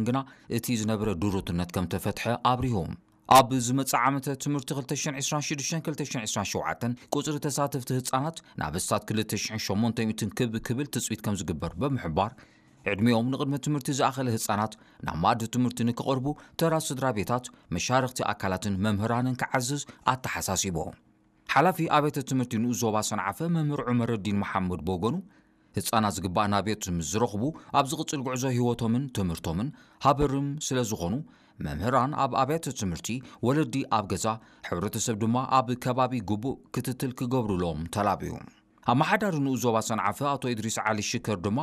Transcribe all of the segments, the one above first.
ግና እቲ ዝነበረ ድሩትነት ከም ተፈትሐ ኣብሪሁ። ኣብ ዝመጽእ ዓመተ ትምህርቲ ክልተ ሽሕን ዕስራን ሽዱሽተን ክልተ ሽሕን ዕስራን ሸውዓተን ቁጽሪ ተሳተፍቲ ህጻናት ናብ ኣስታት ክልተ ሽሕን ሸሞንተ ሚእትን ክብ ክብል ትጽቢት ከም ዝግበር ብምሕባር፣ ዕድሚኦም ንቕድመ ትምህርቲ ዝኣኸለ ህጻናት ናብ መኣዲ ትምህርቲ ንክቐርቡ ተራ ስድራ ቤታት፣ መሻርኽቲ ኣካላትን መምህራንን ክዓዝዝ ኣተሓሳሲቡ። ሓላፊ ኣብያተ ትምህርቲ ንኡስ ዞባ ሰንዓፈ መምህር ዑመረዲን መሓመድ ብወገኑ፣ ህጻናት ዝግባእ ናብየት ምስ ዝረኽቡ፣ ኣብ ዝቕጽል ጉዕዞ ህይወቶምን ትምህርቶምን ሃበርም ስለ ዝኾኑ፣ መምህራን ኣብ ኣብያተ ትምህርቲ፣ ወለዲ ኣብ ገዛ፣ ሕብረተሰብ ድማ ኣብ ከባቢ ግቡእ ክትትል ክገብሩሎም ተላብዩ። ኣመሓዳሪ ንኡስ ዞባ ሰንዓፈ ኣቶ ኢድሪስ ዓሊ ሽከር ድማ፣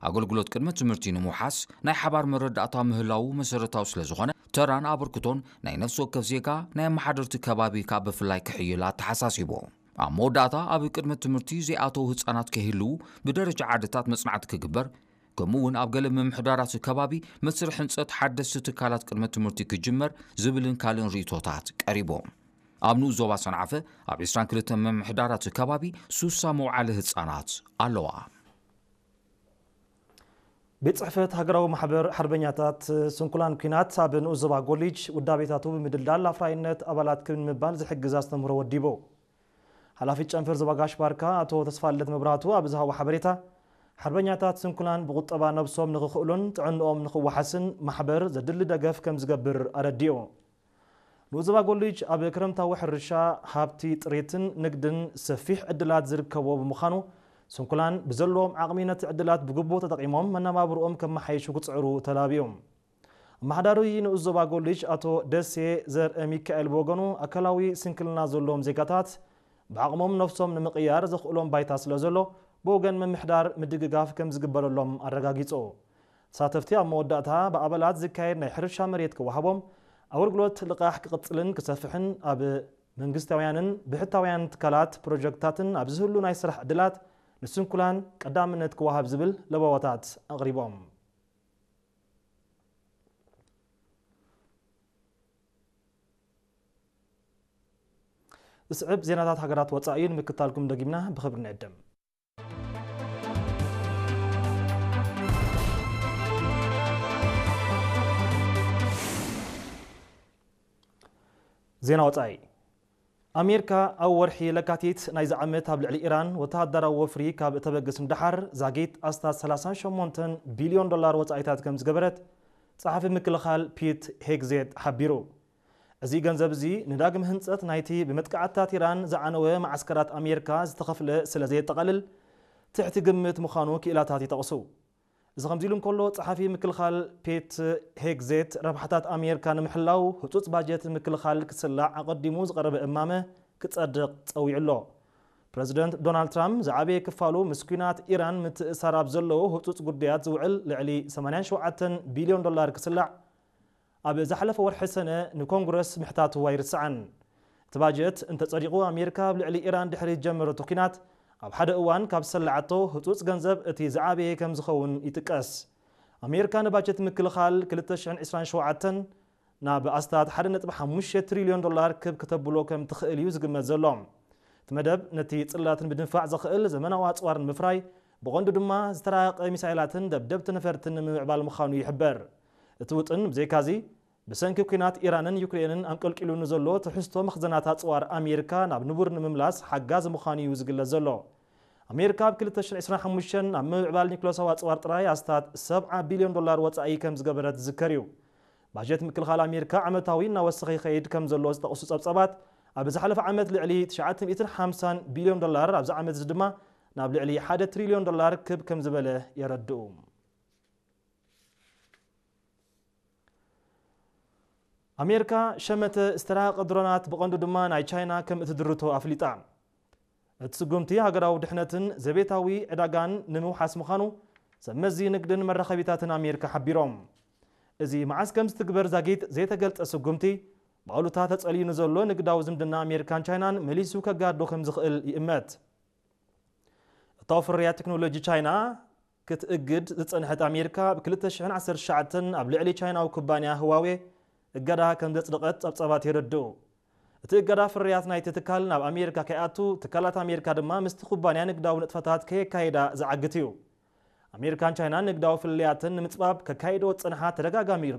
ኣገልግሎት ቅድመ ትምህርቲ ንምውሓስ ናይ ሓባር መረዳእታ ምህላዉ መሰረታዊ ስለ ዝኾነ፣ ተራን ኣበርክቶን ናይ ነፍሲ ወከፍ ዜጋ ናይ ኣመሓደርቲ ከባቢ ካብ ብፍላይ ክሕይል ኣተሓሳሲቡ። ኣብ መወዳእታ ኣብ ቅድመ ትምህርቲ ዘይኣተዉ ህጻናት ከይህልዉ ብደረጃ ዓድታት መጽናዕቲ ክግበር፣ ከምኡ እውን ኣብ ገለ ምምሕዳራት ከባቢ መስርሕ ህንጸት ሓደስቲ ትካላት ቅድመ ትምህርቲ ክጅመር ዝብልን ካልእን ርእይቶታት ቀሪቡ። ኣብ ንኡስ ዞባ ሰንዓፈ ኣብ ዕስራን ክልተን ምምሕዳራት ከባቢ ሱሳ መውዓሊ ህጻናት ኣለዋ። ቤት ጽሕፈት ሃገራዊ ማሕበር ሓርበኛታት ስንኩላን ኲናት ኣብ ንኡስ ዞባ ጎሊጅ ውዳቤታቱ ብምድልዳል ኣፍራይነት ኣባላት ክብ ምባል ዝሕግዝ ኣስተምህሮ ወዲቡ። ሓላፊ ጨንፈር ዞባ ጋሽ ባርካ ኣቶ ተስፋልደት መብራህቱ ኣብ ዝሃቦ ሓበሬታ፣ ሓርበኛታት ስንኩላን ብቁጠባ ነብሶም ንኽኽእሉን ጥዕንኦም ንኽወሓስን ማሕበር ዘድሊ ደገፍ ከም ዝገብር ኣረዲኡ። ንኡስ ዞባ ጎሊጅ ኣብ ክረምታዊ ሕርሻ፣ ሃብቲ ጥሪትን ንግድን ሰፊሕ ዕድላት ዝርከቦ ብምዃኑ፣ ስንኩላን ብዘለዎም ዓቕሚ ነቲ ዕድላት ብግቡእ ተጠቒሞም መነባብርኦም ከመሓይሹ ክጽዕሩ ተላብዮም። ኣመሓዳሪ ንኡስ ዞባ ጎሊጅ ኣቶ ደሴ ዘርአ ሚካኤል ብወገኑ፣ ኣካላዊ ስንክልና ዘለዎም ዜጋታት ብዓቕሞም ነፍሶም ንምቕያር ዘኽእሎም ባይታ ስለ ዘሎ፣ ብወገን ምምሕዳር ምድግጋፍ ከም ዝግበረሎም ኣረጋጊጹ። ተሳተፍቲ ኣብ መወዳእታ ብኣባላት ዝካየድ ናይ ሕርሻ መሬት ክወሃቦም፣ ኣገልግሎት ልቓሕ ክቕጽልን ክሰፍሕን፣ ኣብ መንግስታውያንን ብሕታውያን ትካላት ፕሮጀክትታትን ኣብ ዝህሉ ናይ ስራሕ ዕድላት ንስንኩላን ቀዳምነት ክወሃብ ዝብል ለበዋታት ኣቕሪቦም። ዝስዕብ ዜናታት ሃገራት ወጻኢ ንምክታልኩም ደጊምና ብኽብሪ ንዕድም። ዜና ወጻኢ። ኣሜሪካ ኣብ ወርሒ ለካቲት ናይዚ ዓመት ኣብ ልዕሊ ኢራን ወተሃደራዊ ወፍሪ ካብ እተበግስ ንደሓር፣ ዛጊት ኣስታት ሰላሳን ሸሞንተን ቢልዮን ዶላር ወጻኢታት ከም ዝገበረት ጸሓፊ ምክልኻል ፒት ሄግዜት ሓቢሩ። እዚ ገንዘብ እዚ ንዳግም ህንጸት ናይቲ ብመጥቃዕትታት ኢራን ዝዓነወ መዓስከራት ኣሜሪካ ዝተኸፍለ ስለ ዘየጠቓልል፣ ትሕቲ ግምት ምዃኑ ክኢላታት ይጠቕሱ። እዚ ከምዚ ኢሉ እንከሎ፣ ጸሓፊ ምክልኻል ፔት ሄግዜት፣ ረብሓታት ኣሜሪካ ንምሕላው ህጹጽ ባጀት ምክልኻል ክስላዕ ኣቐዲሙ ዝቐረበ እማመ ክጸድቕ ጸዊዑ ኣሎ። ፕረዚደንት ዶናልድ ትራምፕ ዝዓበየ ክፋሉ ምስ ኲናት ኢራን ምትእሳር ኣብ ዘለዎ ህጹጽ ጉዳያት ዝውዕል ልዕሊ ሰማንያን ሸውዓተን ቢልዮን ዶላር ክስላዕ ኣብ ዝሓለፈ ወርሒ ሰነ ንኮንግረስ ምሕታቱ ኣይርስዓን። እቲ ባጀት እንተጸዲቑ፣ ኣሜሪካ ኣብ ልዕሊ ኢራን ድሕሪ ዝጀመረቶ ኲናት ኣብ ሓደ እዋን ካብ ዝሰላዓቶ ህጹጽ ገንዘብ እቲ ዝዓበየ ከም ዝኸውን ይጥቀስ። ኣሜሪካ ንባጀት ምክልኻል ክልተ ሽሕን ዕስራን ሸውዓተን ናብ ኣስታት ሓደ ነጥቢ ሓሙሽተ ትሪልዮን ዶላር ክብ ከተብሎ ከም ትኽእል እዩ ዝግመት ዘሎ። እቲ መደብ ነቲ ጽላትን ብድንፋዕ ዘኽእል ዘመናዊ ኣጽዋር ንምፍራይ፣ ብቐንዱ ድማ ዝተራቐቐ ሚሳይላትን ደብደብቲ ነፈርትን ንምምዕባል ምዃኑ ይሕበር። እቲ ውጥን ብዘይካዚ፣ ብሰንኪ ኲናት ኢራንን ዩክሬንን ኣንቀልቂሉ ንዘሎ ትሕዝቶ መኽዘናት ኣጽዋር ኣሜሪካ ናብ ንቡር ንምምላስ ሓጋዚ ምዃኑ እዩ ዝግለጽ ዘሎ። ኣሜሪካ ኣብ ክልተ ሽሕን ዕስራን ሓሙሽተን ኣብ ምምዕባል ኒኩለሳዊ ኣጽዋር ጥራይ ኣስታት ሰብዓ ቢልዮን ዶላር ወጻኢ ከም ዝገበረት ዝዝከር እዩ። ባጀት ምክልኻል ኣሜሪካ ዓመታዊ እናወሰኸ ይኸይድ ከም ዘሎ ዝጠቕሱ ጸብጻባት፣ ኣብ ዝሓለፈ ዓመት ልዕሊ ትሽዓተ ሚእትን ሓምሳን ቢልዮን ዶላር፣ ኣብዚ ዓመት እዚ ድማ ናብ ልዕሊ ሓደ ትሪልዮን ዶላር ክብ ከም ዝበለ የረድኡ። ኣሜሪካ ሸመተ ዝተራቐቐ ድሮናት ብቐንዱ ድማ ናይ ቻይና ከም እትድርቶ ኣፍሊጣ። እቲ ስጉምቲ ሃገራዊ ድሕነትን ዘቤታዊ ዕዳጋን ንምውሓስ ምዃኑ ሰብ መዚ ንግድን መራኸቢታትን ኣሜሪካ ሓቢሮም። እዚ መዓስ ከም ዝትግበር ዛጊት ዘይተገልጸ ስጉምቲ፣ ብኣሉታ ተጸልዩ ንዘሎ ንግዳዊ ዝምድና ኣሜሪካን ቻይናን መሊሱ ከጋዶ ከም ዝኽእል ይእመት። እታዊ ፍርያት ቴክኖሎጂ ቻይና ክትእግድ ዝጸንሐት ኣሜሪካ፣ ብ ክልተ ሽሕን ዓሰርተ ትሽዓተን ኣብ ልዕሊ ቻይናዊ ኩባንያ ህዋዌ እገዳ ከም ዘጽደቐት ጸብጻባት የረድኡ። እቲ እገዳ ፍርያት ናይቲ ትካል ናብ ኣሜሪካ ከይኣቱ፣ ትካላት ኣሜሪካ ድማ ምስቲ ኩባንያ ንግዳዊ ንጥፈታት ከየካይዳ ዝዓግት እዩ። ኣሜሪካን ቻይናን ንግዳዊ ፍልልያተን ንምጽባብ ከካይዶ ዝጸንሓ ተደጋጋሚ